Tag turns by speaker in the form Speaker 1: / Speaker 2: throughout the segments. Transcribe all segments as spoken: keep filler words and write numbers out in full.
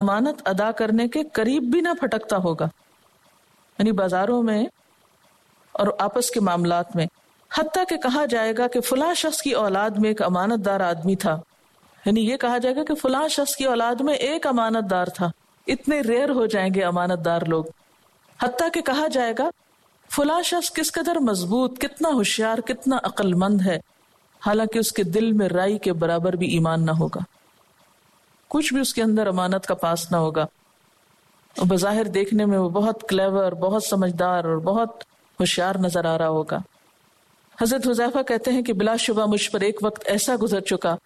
Speaker 1: अमानत अदा करने के करीब भी ना फटकता होगा, यानी बाजारों में और आपस के मामलात में। हत्ता कि कहा जाएगा कि फलां शख्स की औलाद में एक अमानतदार आदमी था, यानी ये कहा जाएगा कि फलां शख्स की औलाद में एक अमानतदार था। इतने रेयर हो जाएंगे अमानतदार लोग। हत्ता कि कहा जाएगा फलां शख्स किस कदर मजबूत, कितना होशियार, कितना अक्लमंद है, हालांकि उसके दिल में राई के बराबर भी ईमान ना होगा, कुछ भी उसके अंदर अमानत का पास ना होगा। और बज़ाहिर देखने में वो बहुत क्लेवर, बहुत समझदार और बहुत होशियार नजर आ रहा होगा। हजरत हुज़ैफा कहते हैं कि बिलाशुबा मुझ पर एक वक्त ऐसा गुजर चुका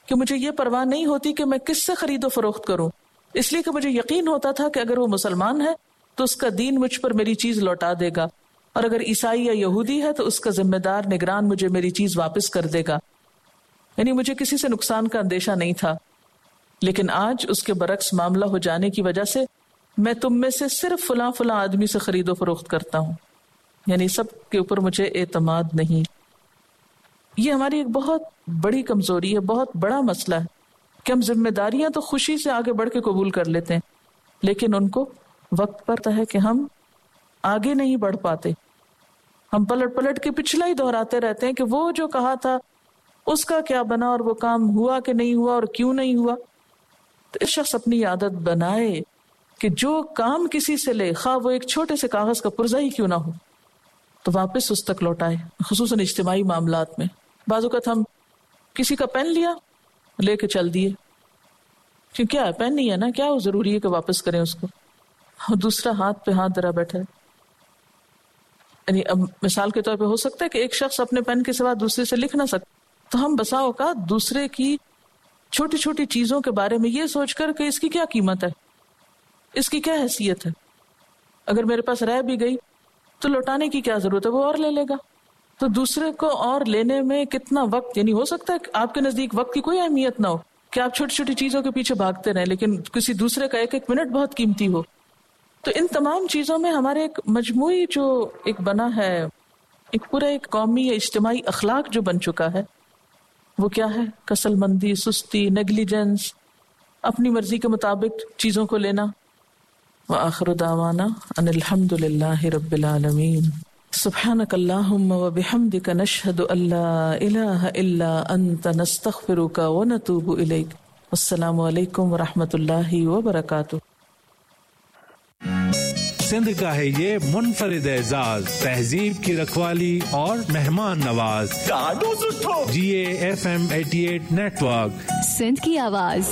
Speaker 1: कि मुझे ये परवाह नहीं होती कि मैं किससे खरीदो फरोख्त करूं, इसलिए कि मुझे यकीन होता था कि अगर वो मुसलमान है तो उसका दीन मुझ पर मेरी चीज लौटा देगा, और अगर ईसाई या यहूदी है तो उसका जिम्मेदार निगरान मुझे मेरी चीज वापस कर देगा। यानी मुझे किसी से नुकसान का अंदेशा नहीं था। लेकिन आज उसके बरक्स मामला हो जाने की वजह से मैं तुम में से सिर्फ फलां फलां आदमी से खरीदो फरोख्त करता हूँ, यानी सब के ऊपर मुझे एतमाद नहीं। ये हमारी एक बहुत बड़ी कमजोरी है, बहुत बड़ा मसला है कि हम जिम्मेदारियां तो खुशी से आगे बढ़ के कबूल कर लेते हैं, लेकिन उनको वक्त पर है कि हम आगे नहीं बढ़ पाते। हम पलट पलट के पिछला ही दोहराते रहते हैं कि वो जो कहा था उसका क्या बना, और वो काम हुआ कि नहीं हुआ, और क्यों नहीं हुआ। तो इस शख्स अपनी आदत बनाए कि जो काम किसी से ले, खा वो एक छोटे से कागज का पुर्जा ही क्यों ना हो, तो वापस उस तक लौटाए, खुसूसन इज्तिमाई मामलात में। बाज़ औक़ात हम किसी का पेन लिया, लेके चल दिए, क्यों क्या है, पेन नहीं है ना, क्या वो जरूरी है कि वापस करें उसको। और दूसरा हाथ पे हाथ धरा बैठा है। यानी अब मिसाल के तौर पे हो सकता है कि एक शख्स अपने पेन के सिवा दूसरे से लिख ना सकता, तो हम बसा औक़ात दूसरे की छोटी छोटी चीजों के बारे में ये सोचकर कि इसकी क्या कीमत है, इसकी क्या हैसियत है, अगर मेरे पास रह भी गई तो लौटाने की क्या जरूरत है, वो और ले लेगा। तो दूसरे को और लेने में कितना वक्त, यानी हो सकता है आपके नजदीक वक्त की कोई अहमियत ना हो कि आप छोटी छोटी चीजों के पीछे भागते रहें, लेकिन किसी दूसरे का एक एक मिनट बहुत कीमती हो। तो इन तमाम चीजों में हमारे एक मजमूई जो एक बना है, एक पूरा एक कौमी या इज्तिमाई अखलाक जो बन चुका है, वो क्या है? कसलमंदी, सुस्ती, नेग्लिजेंस, अपनी मर्जी के मुताबिक चीजों को लेना। व आखिर दावाना अनिल हम्दुलिल्लाहि रब्बिल आलमीन। सुब्हानकल्लाहुम्मा व बिहम्दिका नशहदु अल्ला इलाहा इल्ला अंत नस्तगफिरुका व नतूबु इलैक। अस्सलामु अलैकुम व रहमतुल्लाहि व बरकातुहू।
Speaker 2: सिंध का है ये मुनफरिद एजाज, तहजीब की रखवाली और मेहमान Nawaz. G A F M eighty eight network,
Speaker 3: Sindh की आवाज।